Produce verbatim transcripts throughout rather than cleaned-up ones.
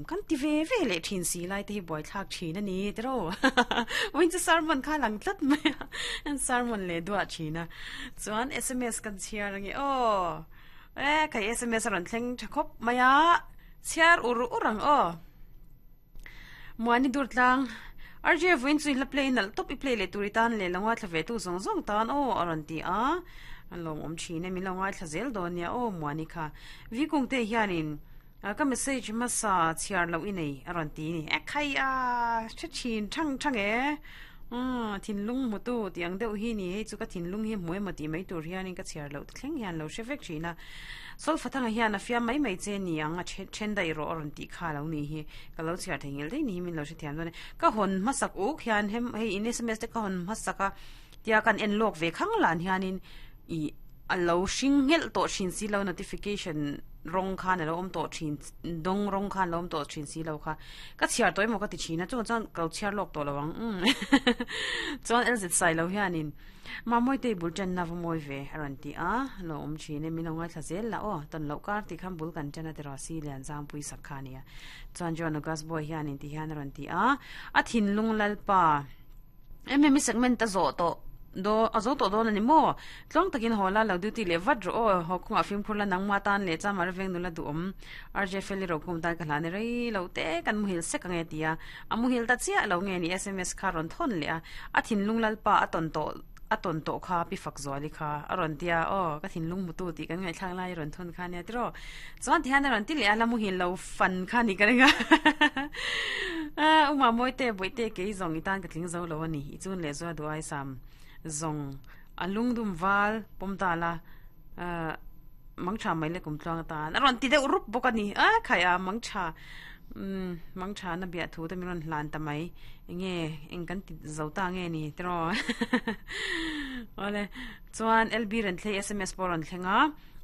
nuam kan ti ve ve le thin si lai te hi buai thlak thin ani tiro win chu sermon kha lang tlat mai an sermon le dua thina chuan sms kan chiar ange o e khai sms ron thleng thakhop maya chiar ur urang o muani dur tlang RJ vuin chu la play nal top i play le turitan le langwa thlave tu zong zong tan o aron ti a an lom om thine mi longa thlazel donia o muani kha vi kung te hianin ka message ma sa chiar lo inei aron ti ni e khai a che chin thang thang e um thin lung mu tu tiang deuh hi ni hei chu ka thin lung hi hmuai ma ti mai tur hianin ka chiar lo thleng hian lo hre vek thina sol fathanga hian a fiam mai mai che ni ang a then dai ro aron ti kha lo ni hi ka lo chiar thengil dei ni min lo hre thiam don ka hon ma sak uk hian hem hei in sms te ka hon ma saka tia kan en lok ve khang lan hianin i a lo hring ngel to thin si lo notification rong khan lo om to thin dong rong khan lo om to thin si lo kha ka chiar toy mo ka ti china chu chan kal chiar lok to lawang um chuan lz sai lo hianin ma moi te bul chan na moi ve aran ti a lo om chine mi lo ngai thla zel la o ton lo kar ti kham bul kan chana te ro si lian jam pui sakha nia chuan jon gas boy hianin ti hian aran ti a a thin lung lal pa em mi segment ta zo to do azo to do na ni mo tlong takin hola lo duty le vat ro ho khung a phim khurla nang ma tan le cha mar veng nula du om rj feli ro kum tan ka hlan rei lo te kan muhil se ka nge tia a muhil ta chia lo nge ni sms kha ron thon le a a thin lung lal pa aton to aton to kha pi fak zoli kha aron tia o ka thin lung mutu ti kan ngai thlang lai ron thon kha nia tro chuan thian ron ti le ala muhil lo fan kha ni ka ringa a uma moi te boi te ke zong itan ka tling zo lo ani chun le zo du ai sam zong alung dum wal pom ta la mang tha mai le kum tluang ta na ron ti de rup bokani a khaya mang tha um mang tha na bia thu ta mi ron hlan ta mai nge eng kan ti zo ta nge ni tro ole chuan lb ren thlei sms poron thlenga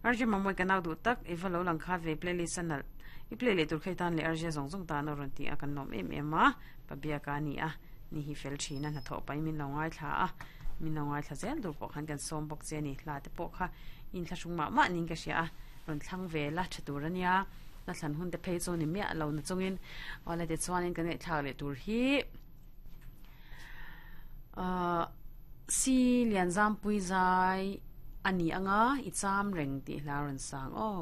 arje mamoi kanaw du tak ivalo lang kha ve playlist anal i play le tur khaitan le arje zong zong ta na ron ti a kan nom em em a pabia ka ni a ni hi fel thina na tho pai min lo ngai thla a min lo ngai thla zel dur pawh khan kan som bawk che ni hla te pawh kha in thla hrung mah mah ning ka hria a rawn thlang ve la tha tur ania na thlan hun te phei chu ni miah lo na chungin awle te chuanin kan ngaih thlak leh tur hi ah si lian zam pui zai ani anga i cham reng tih hla rawn sang aw.